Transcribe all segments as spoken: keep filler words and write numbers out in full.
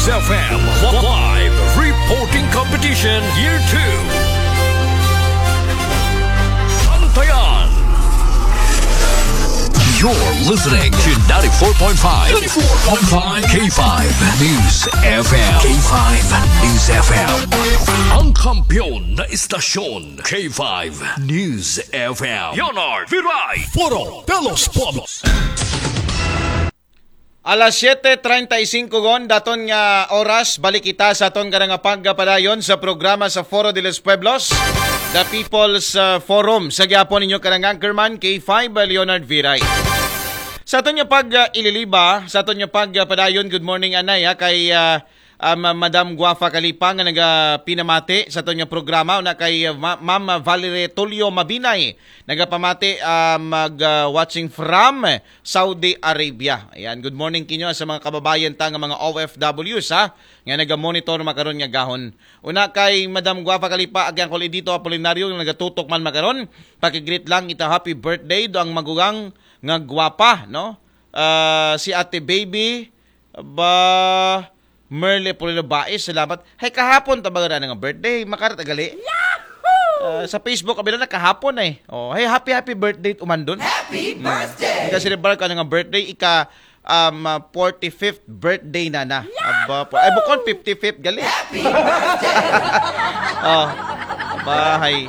F M Live Reporting Competition Year two. Bantayan. You're listening to ninety-four point five, ninety-four point five K five News F M. K five News F M. Ang kampiyon na istasyon, K five News F M. Leonard Viray. Foro de los Pueblos. Alas siyete treinta y cinco gon, daton nga oras, balik kita sa aton karang pagpadayon sa programa sa Foro de los Pueblos, The People's uh, Forum. Sa gihapon ninyo karang anchorman, K five Leonard Viray. Sa aton nga pag uh, ililiba, sa aton nga pagpadayon, good morning anay ha, kay uh, um, Madam Guafa Kalipa nga nagapinamati sa aton nga programa, una kay uh, Ma- Ma'am Valerie Tulio Mabinay, nagapamati uh, mag uh, watching from Saudi Arabia. Ayan, good morning kinyo sa mga kababayan ta nga mga O F Ws ha, nga naga-monitor makaron nga gahon. Una kay Madam Guapa Kalipa, agyang kol Edito Apolinario nga nagatutok man makaron. Pakigreet lang ita happy birthday do ang magugang nga guwapa, no? Ah, si Ate Baby, ba, Merle Polino Bais, salamat. Hay kahapon ta ba nga birthday? Makarat agali? Ah, sa Facebook abi na kahapon eh. Oh, hey, happy happy birthday umandon. Happy birthday. Kasi rin ka nga birthday ika um, ah, forty-fifth birthday na na. Aba po. Ay bukon fifty-fifth gali. Happy birthday. Oh. Bahay.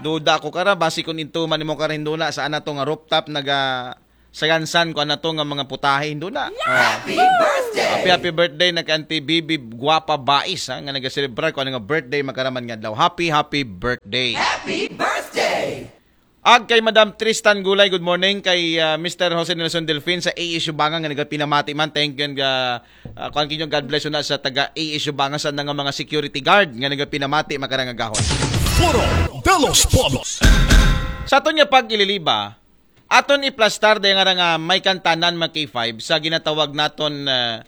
Duda ko kara basi kun intuman nimo kara hinduna sa ana to nga rooftop naga sagansan ko ana to nga mga putahe hinduna. Oh. Happy birthday. Happy happy birthday na kay Auntie Bibi Guapa Bais ha, nga nagaselebrar ko ana nga birthday makaraman nga adlaw. Happy happy birthday. Happy birthday. Ag kay Madam Tristan Gulay, good morning. Kay ah, Mister Jose Nelson Delfin sa A S U Banga nga nagapinamati man. Thank you and ah, ah, kuan kinyo, God bless una sa taga A S U Banga sa nga mga security guard nga nagapinamati makarang nga gahon. Foro de los Pueblos. Sa aton nga pag-ililiba, aton iplastar dahil nga nga may kantanan mga K five sa ginatawag naton ah,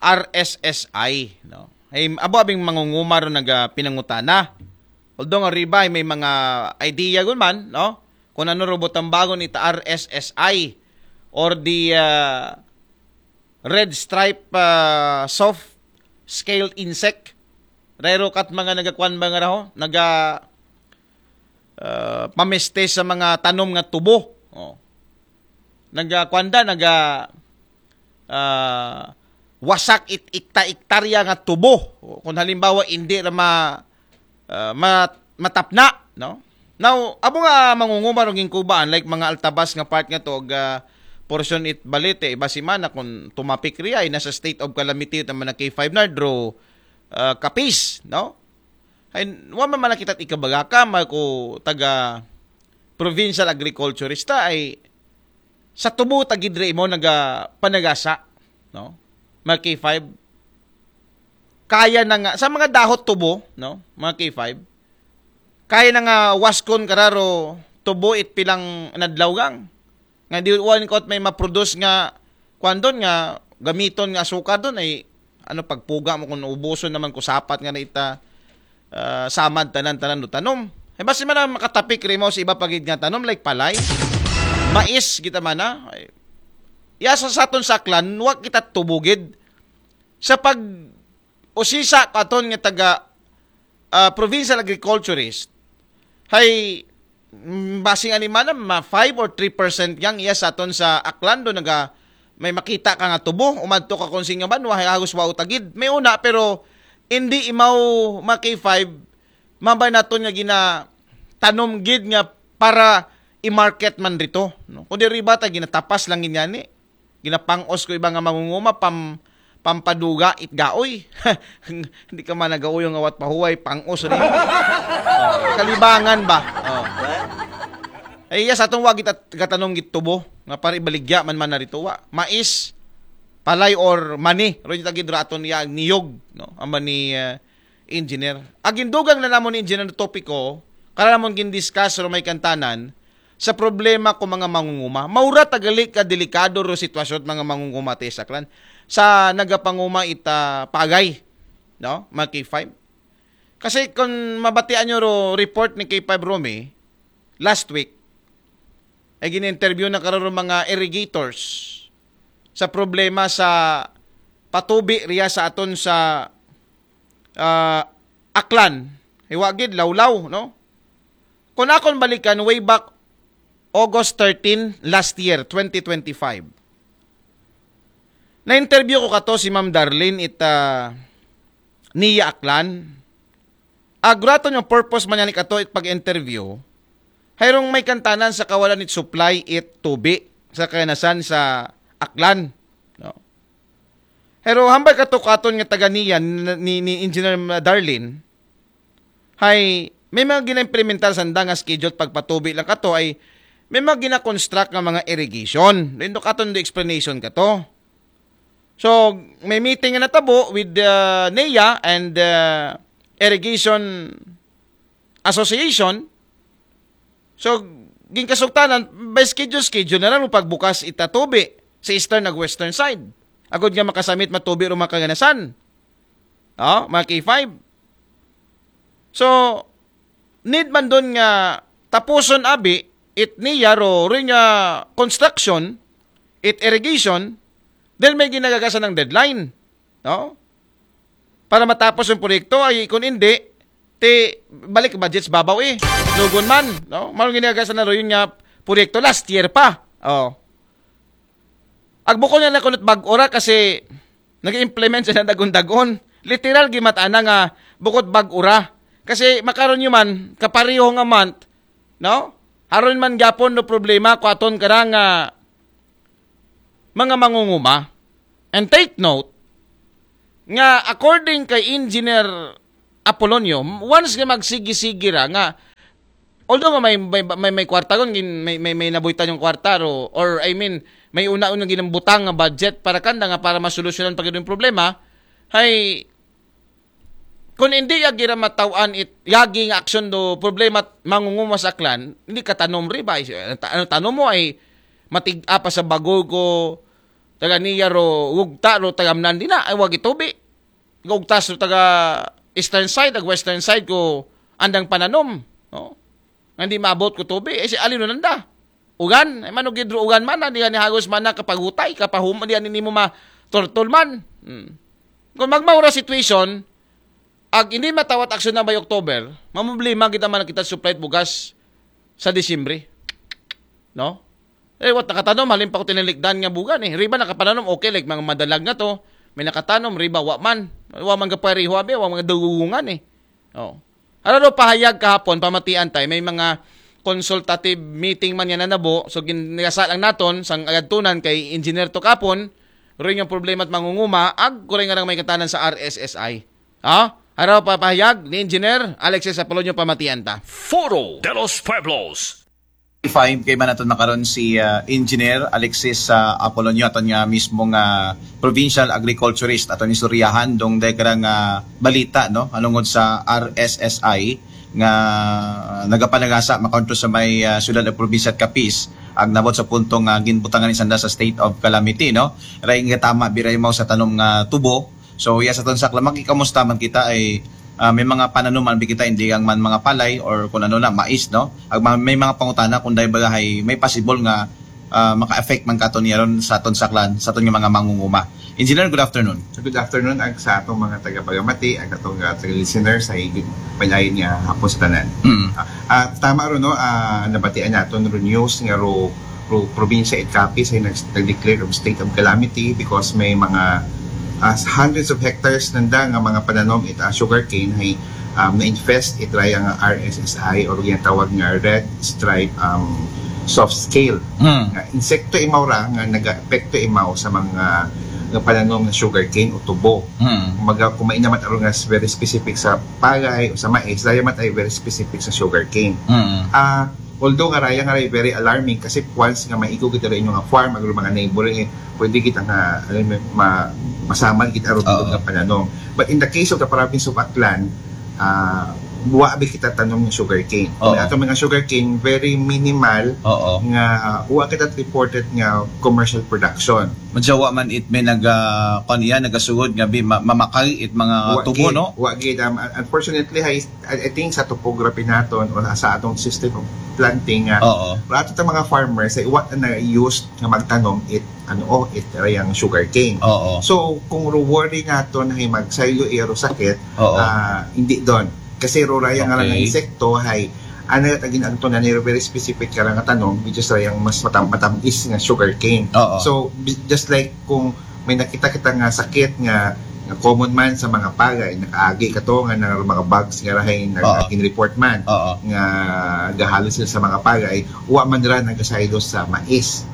R S S I, no? Ay, abo abing mangunguma ron nagapinangutana. Although nga riba ay may mga idea gun man, no? Kung ano ro butang bagon ita R S S I or the uh, Red Stripe uh, Soft Scaled Insect. Rero kat mga nagakuan ba nga raho? Naga uh, pamiste sa mga tanom nga tubo. Oh. Nagakuan da, naga uh, wasak it ikta-iktarya nga tubo. Oh. Kung halimbawa, hindi na ma, uh, ma, matapna, no? Now, abo nga mangunguma rong ginkubaan, like mga altabas nga part nga to, og, ah, portion it Balete, iba si mana kung tumapik riya, ay nasa state of calamity naman na K five na, draw uh, kapis, no? Ay, wa man man kita ikabaga ka, may ko taga provincial agriculturista, ay sa tubo tagidre mo naga panagasa, no? Mga K five, kaya na nga, sa mga dahot tubo, no? Mga K five, kaya na nga waskon kararo tubo it pilang nadlaw gang. Nga di uwan ko may maproduce nga kwan doon nga gamiton nga asukar doon ay ano pagpuga mo kung ubuson naman ko sapat nga na ita uh, samad tanan-tanan do tanom. Ay basi man makatapik rimo sa iba pagid nga tanom like palay, mais kita man na. Ay, yasa sa aton saklan, wa kita tubugid sa pag usisa ko aton nga taga uh, provincial agriculturist, hay mm, basing animana ma five or three percent yang iya sa aton sa Aklando naga may makita ka nga tubo, umadto ka kung singa banwa, hay agos wa utagid. May una, pero hindi imaw ma K five, mabay naton nga gina tanom gid nga para i-market man rito. No? Kundi riba ta ginatapas lang gid yani. Ginapangos ko iba nga mangunguma pam pampaduga it gaoy. Hindi ka man nagauyong awat pahuway, pangos rin. Oh, kalibangan ba? Oh. Ay, yes, atong wagi tat gatanong gitubo nga pare baligya man man narito wa. Mais, palay or mani, ro yung tagid raton iya niyog, no? Ang mani uh, engineer. Agindugang na namon engineer topiko, kala namon gindiscuss ro may kantanan, sa problema ko mga mangunguma. Maura tagali ka delikado ro sitwasyon mga mangunguma te saklan sa nagapanguma ita pagay, no? Mga K five. Kasi kung mabatian nyo ro report ni K five Romy last week, ay gin-interview na kararo mga irrigators sa problema sa patubi riya sa aton sa ah, Aklan. Hiwa gid, Lawlaw, no? Kung akon balikan, way back August thirteen last year, twenty twenty-five. Na-interview ko kato si Ma'am Darlene it ah, NIA Aklan. Agraton yung purpose man yan kato it pag-interview. Hayrong may kantanan sa kawalan it supply it tubi sa kaganasan sa Aklan. No? Pero hambal kato katon nga taga NIA ni, ni, ni Engineer Darlene, hay may mga gina-implementar sanda nga schedule pagpatubi lang kato ay may mga gina-construct nga mga irrigation. Then do katon do explanation kato. So, may meeting nga natabo with the NIA and the Irrigation Association. So, ginkasugtanan, by schedule, schedule na lang pagbukas it tubi sa eastern ug western side. Agod nga makasamit matubi ro mga kaganasan. Oh, mga K five. So, need man dun nga tapuson abi it NIA ro, ro nga construction, it irrigation, then may ginagagasan ng deadline. No? Para matapos yung proyekto ay kung hindi, ti balik budgets babaw eh. Lugon man, no? Mao ginagagasan na ro yun nga proyekto last year pa. Oh. Agbukon nga na kunot bag-o ra kasi nag-implement sila dagon-dagon. Literal gimatana nga bukod bag-o ra. Kasi makaron yun man, kapareho nga month, no? Haron man gyapon no problema ko aton karang nga mga mangunguma. And take note nga according kay Engineer Apolonio, once nga magsigi-sigi ra nga although nga may may may, may kwarta kon may, may may nabuhitan yung kwarta ro, or I mean may una-una ginambutang nga budget para kanda nga para masolusyonan pa gyud yung problema, hay kung hindi yagi ra mataw-an it yagi nga aksyon do problema mangunguma sa Aklan, hindi ka tanom ri ba? Ano tanom mo ay matig-a pa sa bagol ko taga NIA ro ugta ro tagamnan din na ay wagi tubi. Ugtas ro taga eastern side, ag western side ko andang pananom, no? Nga hindi maabot ko tubi, eh si alin nanda? Ugan, ay mano gidro ugan man, di ni hagos man na kapagutay, kapahuma, di ani nimo ma turtol man. Hmm. Kung magmaura situation, ag hindi matawat aksyon na by October, mamumblima kita man kita supplied bugas sa Disyembre. No? Eh, wat nakatanom, halin pa ko tinalikdan nga bugan eh. Riba nakapananom, okay, like mga madalag na to. May nakatanom, riba, wa man. Wa man kapareho, abi, wa man dugungan eh. Oh. Ano daw pahayag kahapon, pamatian tay, may mga consultative meeting man yan na nabo. So, ginasa lang naton, sang agadtunan kay Engineer to kapon, rin yung problema at mangunguma, ag kuray nga lang may katanan sa R S S I. Ha? Araw papahayag ni Engineer Alexis Apolonio pamatian ta. Foro de los Pueblos. Five kay man naton makaron si ah, Engineer Alexis ah, Apolonio aton nga mismo nga provincial agriculturist aton istoryahan dong degra nga balita no alungod sa R S S I nga nagapanagasa makontra sa may ah, syudad ug probinsya at Capiz ag nabot sa punto nga ginbutangan ni sanda sa state of calamity no ray nga tama biray mao sa tanom nga tubo. So, yes, aton sa Klamaki, kamusta man kita ay ah, may mga pananuman bi kita, hindi lang man mga palay or kung ano na, mais, no? Ag ma- may mga pangutana kung dahil ba hay may possible nga ah, maka-affect man kato niya ron sa aton saklan, sa aton nga mga mangunguma. Engineer, good afternoon. Good afternoon ag sa atong mga tagapagamati, ag atong uh, taga-listeners sa higit palayan nga hapon sa tanan. Mm. Ah, ah, tama ro no, ah, nabatian naton ro news nga ro, ro probinsya it Capiz ay nag, nag-declare of state of calamity because may mga ah, hundreds of hectares nanda nga mga pananom it ah, sugarcane ay um, na-infest it raya nga R S S I or ginatawag nga red stripe um, soft scale. Mm. Nga insekto imaw ra nga nagaepekto imaw sa mga nga pananom nga sugarcane o tubo. Mm. Maga, kung mainamat aron nga very specific sa palay o sa mais, daya mat ay very specific sa sugarcane. Mm. Ah, although nga raya nga ray very alarming kasi once nga maigo kita rin yung farm, ang mga neighboring, eh, pwede kita nga ano, ma, masaman kita ron Oo. Nga pananom. But in the case of the province of Aklan, ah, wa abi kita tanom nga sugarcane. Kung Oo. ato mga sugarcane, very minimal Oo. nga wa kita reported nga commercial production. Madyawa man it may nag uh, kon iya nagasugod nga bi, ma, mamakay it mga Wa tubo, gid, no? Wa gid. Um, un- unfortunately, I, I I think sa topography naton o sa atong system of planting nga Oo. para ato mga farmers ay wa na used nga magtanom it ano oh, it rayang sugarcane. Oo. So kung ro worry naton ay magsaylo iya ro sakit, Oo. ah, hindi don. Kasi ro rayang nga Okay. insekto ay ana ta ginagto na niro very specific ka nga tanom, which is rayang mas matam matamis nga sugarcane. Oo. So bi- just like kung may nakita kita nga sakit nga, nga common man sa mga pagay, nakaagi ka to nga na mga bugs nga rahay Oo. nag report man Oo. nga gahalo sila sa mga pagay, wa man ra nagasaylo sa mais.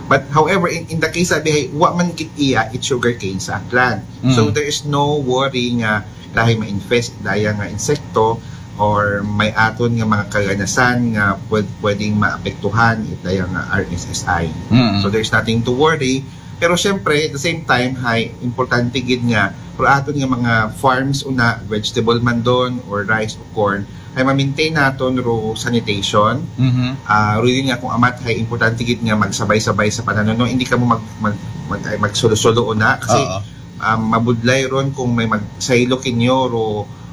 But however, in, in the case sabi ay wa man gid iya it sugarcane sa Aklan. Mm. So there is no worry nga dahil ma-infest daya nga insekto or may aton nga mga kaganasan nga pwed, pwedeng maapektuhan it daya nga R S S I. Mm. So there's nothing to worry. Pero syempre, at the same time, hay importante gid nga para aton nga mga farms una, vegetable man don or rice o corn, ay ma-maintain naton ro sanitation. Mhm. Ah, really nga kung amat ay importante gid nga magsabay-sabay sa pananom, no? Hindi ka mo mag, mag, mag, ay, magsolo-solo una kasi Oo. um, mabudlay ron kung may magsaylo kinyo ro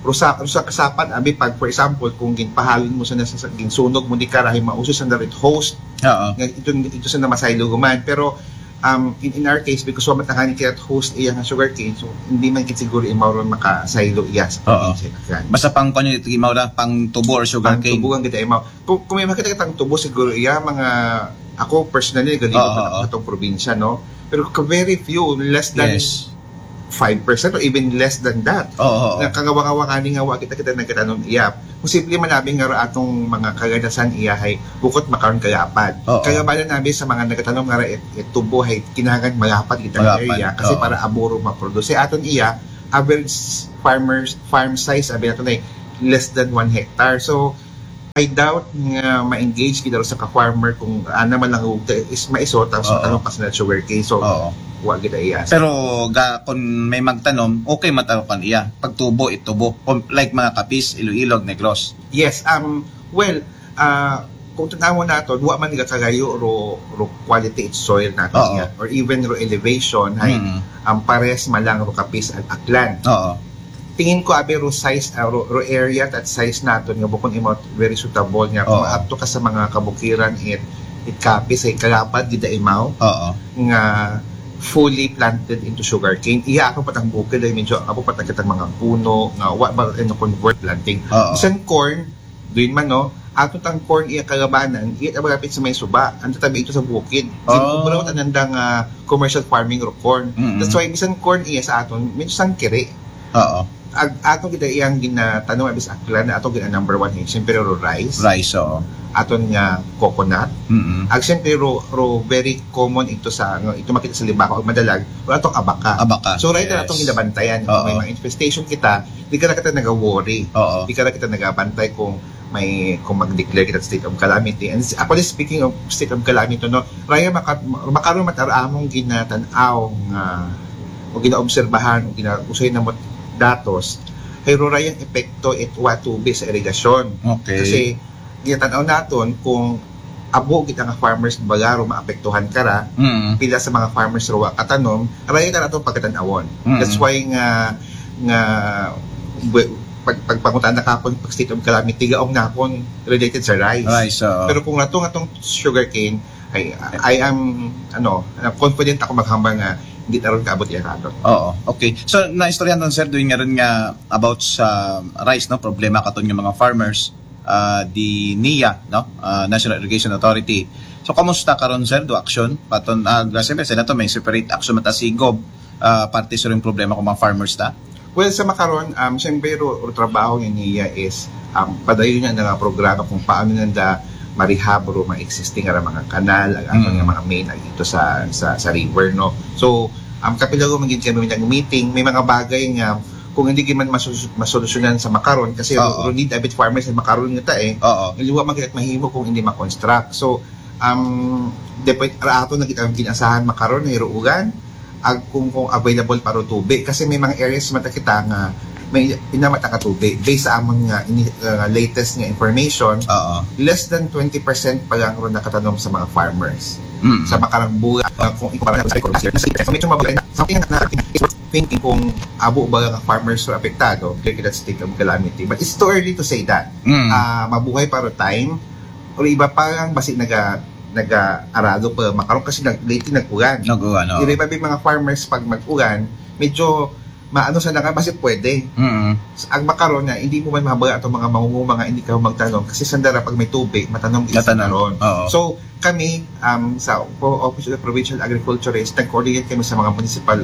ro sa ro sa kasapan abi pag for example kung ginpahalin mo sa nasa ginsunog mo di ka rahi mauso sa narit host Oo. nga ito ito sa namasaylo guman pero um, in, in our case because wa matangani kaya host iya nga sugarcane so hindi man gid siguro imaw ron makasaylo iya sa Oo. probinsya kan. Basta pang kuno ito imaw ra pang tubo or Ang sugarcane. tubugan kita imaw. Kung, kung may makita kitang tubo siguro iya mga ako personally gali Oo, ko pa oo. Atong probinsya no. Pero ka very few, less than Yes. five percent or even less than that. Oo. Oo. Nga kagawa-gawa kani nga wa kita kita nagkatanom iya. Kung simple man nabi nga ra atong mga kaganasan iya hay bukod makaron kalapad. Oo. Kagabanan nabi sa mga nagkatanom nga ra it, it tubo hay kinahanglan malapad kita Malapad, area kasi oo. Para aburo maproduce aton iya average farmers farm size abi nato na less than one hectare. So I doubt nga ma-engage kita sa ka-farmer kung ana man lang ug is maiso tapos Oo. Matanong pa sa sugarcane. So Oo. Wa gid iya. Pero ga kung may magtanom, okay matarukan iya. Pagtubo, itubo. Kung, like mga Capiz, Iloilo, Negros. Yes, um well, uh, kung tanawon nato, wa man gakagayo ro ro quality it soil nato Oo. Niya, or even ro elevation hay Mm. Ang pares malang ro Capiz ug Aklan. Oo. Tingin ko abi ro size uh, ro, ro area at size naton nga bukon imo very suitable nga kung Oo. Maadto ka sa mga kabukiran it it Capiz ay kalapad gid imaw Oo. nga fully planted into sugarcane. Iya ako patang bukid ay medyo ako patang kitang mga puno nga wa ba ano convert planting. Oo. Bisan corn, doon man no, ato tang corn iya kagabanan, iya ta malapit sa may suba, ang tatabi ito sa bukid. Oh. Ginabraw anandang uh, commercial farming ro corn. Mm-mm. That's why bisan corn iya sa aton, medyo sangkiri. Oo. Ag ato kita iyang ginatanom abis Aklan na ato gina number one eh. Siyempre ro rice, Rice, oo. aton nga coconut, Mm-mm. Ag siyempre ro, ro very common ito sa nga ito makita sa Libacao ug Madalag, wala tong abaka. Abaka. So right Yes. na atong ginabantayan. Oo. May mga infestation kita, di ka na kita nag-worry. Oo. Di ka na kita nagabantay kung may kung mag-declare kita state of calamity. And s- actually speaking of state of calamity no, raya maka, makaroon matar among ginatan-aw nga o ginaobserbahan o ginausay na mo datos, hay ro rayang epekto it wa tubi sa irigasyon. Okay. Kasi ginatan-aw naton kung abo gid nga farmers baga ro maapektuhan kara, Mm. Pila sa mga farmers ro wa katanom, raya ta atong pagkatan-awon. Mm. That's why nga nga bu- pag pagpangutan na kapon pag state of calamity gaong napon related sa rice. Rice, oo. Pero kung atong atong sugarcane, I I am ano, confident ako maghambal nga hindi taron kaabot iya karon. Oo, okay. So naistoryahan ton sir doon nga ron nga about sa rice no, problema katon nga mga farmers ah, di NIA no, ah, National Irrigation Authority. So kamusta karon sir do action? Paton ah, grabe sa nato may separate action mata si Gob ah, parte sa rin problema kung mga farmers ta. Well, sa makaron, um, siyempre, ro, ro trabaho ni NIA is um, padayon niya nga programa kung paano nanda marehab ro mga existing nga mga kanal, ang aton Mm. nga mga main ag ito sa sa, sa river, no. So, um, kapila ro magid kami nag meeting, may mga bagay nga kung hindi man masus- masolusyonan sa makaron kasi Oo. ro need abit farmers sa makaron nga ta eh. Oo. Liwa man kita mahimo kung hindi ma-construct. So, um, depende ra ato na kita ang ginasahan makaron na iruugan ag kung, kung available para tubi kasi may mga areas mata kita nga may inamat ang katubi. Based sa amon nga ini, uh, latest nga information, Oo. less than twenty percent pa lang ron nakatanom sa mga farmers. Mm. Sa makarang bulan, uh, kung ikumpara sa last year, so medyo mabuhay na. Something na, it's worth thinking kung abo ba nga farmers ro apektado, kaya kita state of calamity. But it's too early to say that. Mm. Ah, mabuhay pa ro time, o iba pa lang, basi naga, naga-arado pa makaron kasi nag, lately nag-ulan. Nag-ulan, oo. Iri pa ba mga farmers pag mag-ulan, medyo maano sa nga, basi pwede. Mm. Ang makaron nga, hindi mo man mahabaya ato mga mangunguma nga hindi ka magtanom kasi sandara pag may tubi, matanom gid Matanom. Karon. Oo. So, kami, um, sa Office of the Provincial Agriculturist, nag-coordinate kami sa mga municipal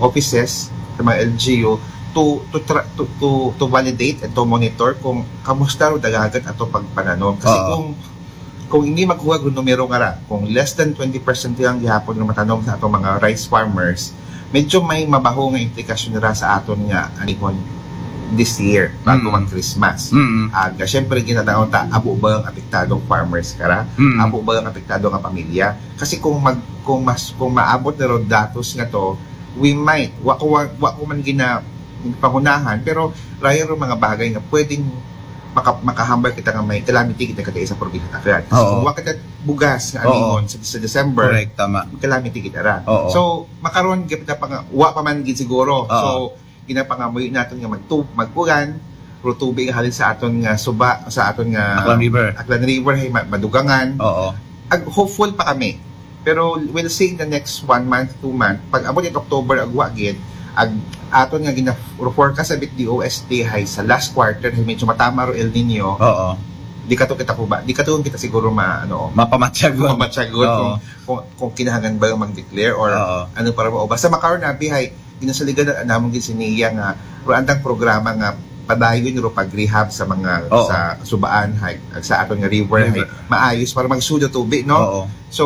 offices, sa mga L G U, to to tra- to, to, to validate and to monitor kung kamusta ro dalagan ato pagpananom. Kasi Oo. kung kung hindi maghuwag ang numero nga ra, kung less than twenty percent lang gihapon nga matanom sa atong mga rice farmers, medyo may mabaho nga implikasyon ra sa aton nga anihon this year bago Mm. mag Christmas. Mm. Ag syempre, ginadaon ta, abo ba ang apektadong farmers kara? Mm. Abo ba ang apektado nga pamilya? Kasi kung mag kung mas kung maabot na ron datos nga to, we might, wa ko wa, wa ko man gina pangunahan, pero raya ro mga bagay nga pwedeng maka, makahambal kita nga may calamity kita kay sa probinsya ta. Kaya Oo. kung wa kita bugas nga Oo. anihon sa, sa December, Correct, tama. calamity kita ra. Oo. So, makaron gid kita pa nga, wa pa man gid siguro. Oo. So, ginapangamuyo naton nga magtu mag-ulan, ro tubi nga halin sa aton nga suba, sa aton nga Aklan River. Aklan River hay ma- madugangan. Oo. Ag hopeful pa kami. Pero we'll see in the next one month, two month. Pag abot in October, ag wa gid, ag aton nga gina-forecast sa bit D O S T hay sa last quarter hay medyo matama ro El Nino. Oo. Di kato kita kuba, di kato kita siguro ma ano, Mapamatyagon. mamatyagon Oo. kung, kung kung kinahanglan ba mag-declare or Oo. ano para mo. Basta makaron abi hay ginasaligan na namon gid si Nia nga pero andang programa nga padayon ro pag-rehab sa mga Oo. sa subaan hay sa aton nga river, River. Hay maayos para magsud ang tubi, no? Oo. So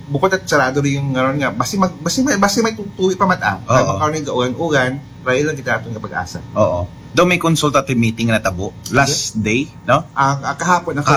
bukod at sarado rin yung ngaron nga basi mag basi may basi may tutuwi pa mata. Oo. Makaron yung gaulan-ulan, rayo lang kita aton nga pag-asa. Oo. Daw may consultative meeting na tabo last day, no? Ang, ang kahapon ang Kahapon.